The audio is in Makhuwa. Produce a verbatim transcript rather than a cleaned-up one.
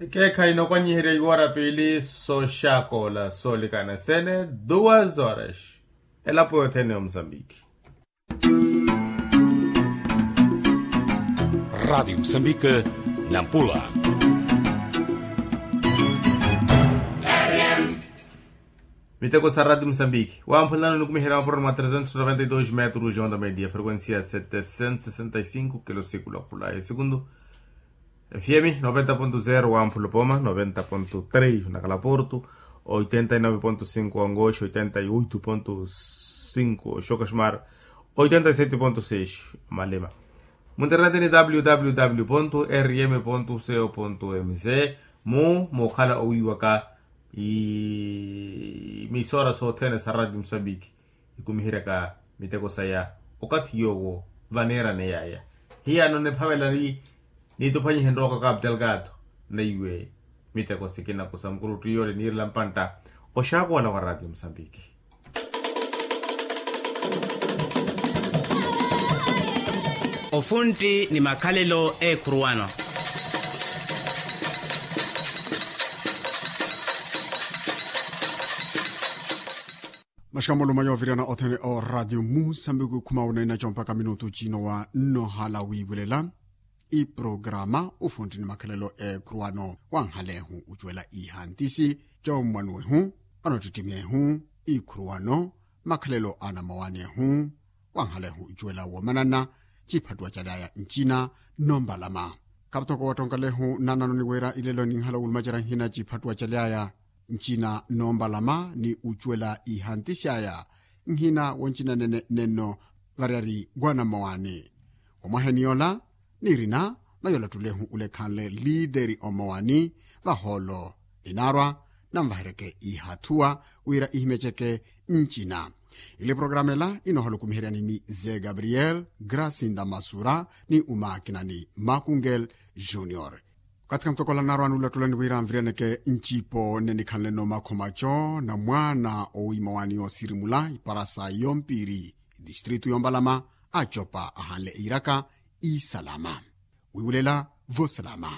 Keekhayi nookwanyiherya iwoora piili sooxakoola soolikana sene. Duas horas. Elapo yothene ya musambiki. Radiyo musambiki, nampula. Miteko sa radiyo musambiki wamphulano nikumiherya maporoni mwa trezentos noventa y dos metros ya onda media frequencia setecentos sesenta y cinco kilo sikulu akhula ya sekundu. F M noventa ponto zero wa mphulo poma noventa ponto três na kalaporto, oitenta y nove ponto cinco wa ngoxi oitenta y oito ponto cinco wa xoka xumar, oitenta y sete ponto seis wa malema. Mu internet ni www ponto rm ponto co ponto mz. Mu mukhala owiiwaka imisora sothene sa radiyo musambiki ikumiheryaka miteko saya okathi yoowo vaneerane yaya. Hiyano niphavela ni nituphwanyihe nrooko kapu delgado neiwe miteko sikina kusa mukurutti yoole niirela mpantta oxakola wa radiyo musambiki. Ofuntti ni makhalelo eekhuruwano. Maxika mulumanyo oviriyana othene o radiyo musambiki khuma unaina compaka minutu cino wa nnohala wiivulela. Iprograma ufuntti ni makhalelo eekhuruwano wanhalehu ucuwela ihantisi, commwanuwehu, anottittimyehu, ikhuruwano, makhalelo anamowaniyehu, wanhalehu icuwela womanana, ciphattuwa calyaya ncina, nompalama. Kaputoko wattonkalehu nananoni wira ilelo ninhala wulumacerya nhina ciphattuwa calyaya ncina nompalama ni ucuwela ihanti syaya, nhina woncina nene nenno variyari wanamowani. Womwaheni yola, nirina mayolattulehu ulekhanle liiteri omowani, vahoolo ninaarwa nanvaheryeke ihathuwa wira ihimyeceke ncina. Ile programa ela inoohala okumiheryani mize gabriel grasinda masura ni umakinani makungel junior. Okathi kamutokola naarwani ulattulani wira nviriyaneke ncipo nne nikhanleno makhomaco na mwaana owiimowani yoosirimula iparasa yompiri distritu yompalama, acopa ahanle iiraka isalama wiiwulela vosalama.